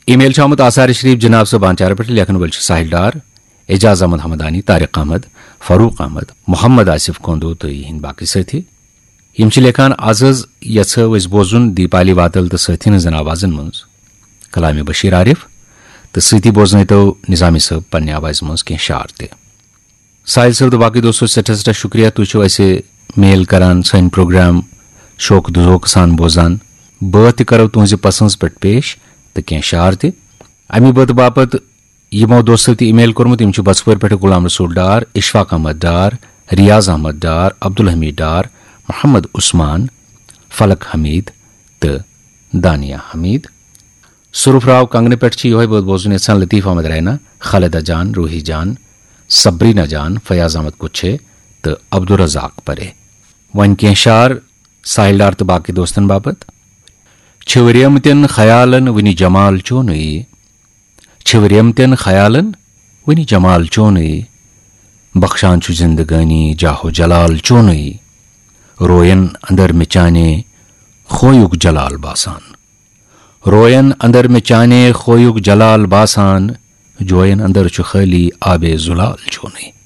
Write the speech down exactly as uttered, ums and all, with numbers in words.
ای میل چھُ آمُت آثار شریف جناب صٲب آنچارٕ پٮ۪ٹھ، لیکھن وٲلۍ چھِ ساحل ڈار، اعجاز احمد حمدانی، طارق احمد، فاروق احمد، محمد آصف کونڈو تہٕ یِہنٛدۍ باقٕے سٲتھی۔ یِم چھِ لیکھان، از حظ یژھو أسۍ بوزُن دیپالی واتل تہٕ سٲتھین ہٕنٛزن آوازن منٛز کلام بشیر عارف، تہٕ سۭتی بوزنٲوتو نظامی صٲب پننہِ آوازِ منٛز کینٛہہ شعر تہِ۔ ساحل صٲب تہٕ باقٕے دوستو، سٮ۪ٹھاہ سٮ۪ٹھاہ شُکریہ، تُہۍ چھِو اَسہِ میل کران، سٲنۍ پروگرام شوق تہٕ ذوقہٕ سان بوزان۔ بٲتھ تہِ کرو تُہنٛزِ پسنٛز پٮ۪ٹھ پیش تہٕ کینٛہہ شعر تہِ۔ اَمہِ بٲتہٕ باپتھ یِمو دوستو تہِ ای میل کوٚرمُت، یِم چھِ بژھپورِ پٮ۪ٹھٕ غلام رسول ڈار، اشفاق احمد ڈار، ریاض احمد ڈار، عبدالحمید ڈار، محمد عثمان، فلک حمید تہٕ دانیہ حمید۔ سرُف راو کنگنہٕ پٮ۪ٹھ چھِ یِہوٚے بٲتھ بوزُن یژھان لطیف احمد رینا، خالدہ جان، روحی جان، صبرینا جان، فیاض احمد کچھے تہٕ عبدالرزاق پرے۔ وۄنۍ کینٛہہ شعر ساحل ڈار تہٕ باقٕے دوستن باپتھ۔ چھِ ریمتٮ۪ن خیالن وٕنہِ جمال چونٕے، چھِ ریمتٮ۪ن خیالن وٕنہِ جمال چونٕے، بخشان چھُ زندگٲنی جاہ و جلال چونٕے۔ روین اندر مےٚ چانے خویُک جلال باسان۔ روین اندر مےٚ چانے خویُک جلال باسان، جوین اندر چھُ خٲلی آبے زلال چونٕے۔